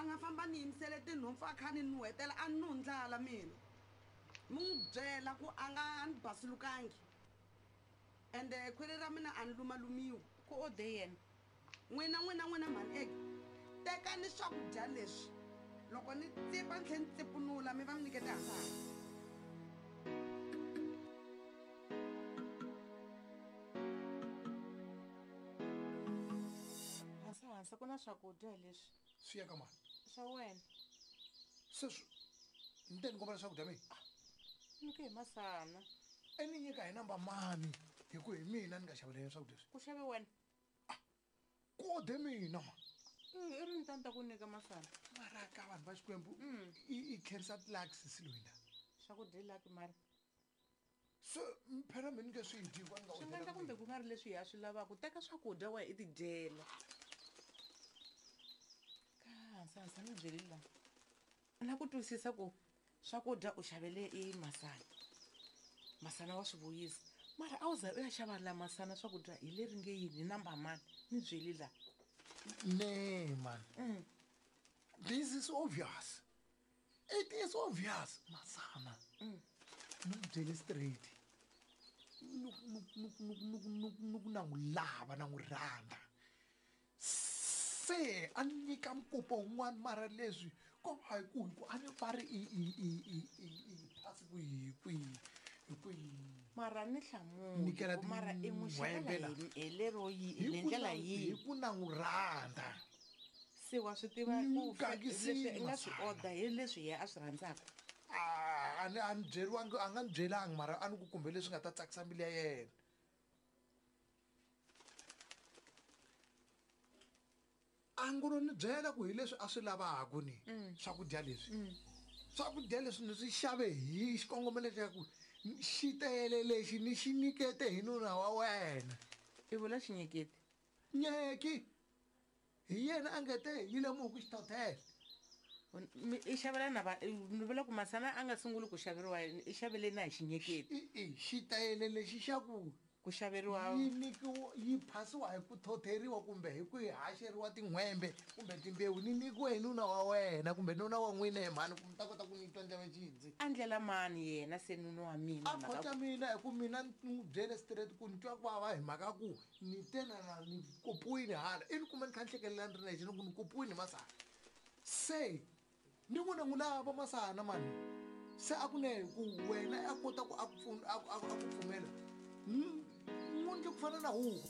nga famba ni yimisele tinhompfu a kha ni nuhetela a ni ndlala mina. Mi n'wi byela ku a nga ni basulukangi. Ende khwiri ra mina a ni lumalumiwi. Ku ode yena. N'wina n'wina n'wina mhani eke tekani swakudya leswi loko ni tsipa ni tlhe ni tsipunula mi va mi nyikete hasahasa. Hansa ku na swakudya hi leswi. Swi ya ka mani? Swa wena. Sweswi ni te ni kombela swakudya mina? Nyike hi masana. E ni nyika hi namba mani hi ku hi mina ni nga xavela yena swakudya leswi. Ku xave wena? Ku ode mina ma. I ri ni ta ni ta ku nyika masana. Mara ka vanhu va Xikwembu i khensa tilax siloyina. Swakudya i lucky mara. Se phela mi ni nge swi dyi hikuva ni nga Swi nga endla kumbe ku nga ri leswi hi a swi lavaka. Teka swakudya wa i tidyela. Ka hansa ni byeli la. Na ku twisisa ku swakudya u xavele i masana. Masana wa swi vuyisa. Mara a wu za u ya xava la masana swakudya hi leri nge yini hi namba mani ni byeli la. Ne man. This is obvious. It is obvious masana. Ni ku byele straight. Ni ku na n'wi lava na n'wi rhandza. Se a ni nyika mkopo wun'wana mara leswi ko va hi ku hi ku a ni va ri i i i i i i phasi ku hi kwihi hi kwihi. Mara ni hlamuli Nyikela ku mara i n'wi tin'hwembe xavela la. hi lero yi Hi hi ku ndlela na yihi? hi ku na n'wi rhandza. Se wa swi tiva Ni ku n'wi gangisile leswi i nga swi Masana. order hi leswi yena a swi rhandzaka. Ah, a ni a ni byeriwangi a nga ni byelangi mara a ni ku kumbe leswi nga ta tsakisa mbilu ya yena. A ngo ni byela ku hi leswi a swi lavaka ni swakudya leswi. Swakudya leswi ni swi xave hi xikongomelo xa ku xitele lexi ni xi nyikete hi nuna wa wena. I vula xinyeketi? Nyeki. Hi yena a nge te yi lemuhi ku xithothela. I xavela na va ni vula ku masana a nga sunguli ku xaveriwa i xavele na hi xinyeketi. I xitele lexi xa ku Ku xaveriwa yi nyikiwa yi phasiwa hi ku thotheriwa kumbe hi ku yi haxeriwa tin'hwembe kumbe timbewu ni nyikiwe hi nuna wa wena kumbe nuna wa n'wina hi mhani ku mi ta kota ku ni twa ndleve xidzi. A ndlela mani yena se nuna wa mina A mhaka khotla mina hi ku mina ni n'wi byele straight ku ni twa ku vava hi mhaka ku ni te na na ni kopiwile hala i ni kuma ni kha ni hlekelela ni ri nexe ni ku ni kopiwile masana se ni n'wi na n'wi lava masana mani se a ku ne ku wena a kota ku a ku pfuna a ku pfumela n'wi ndle ku fana na huku.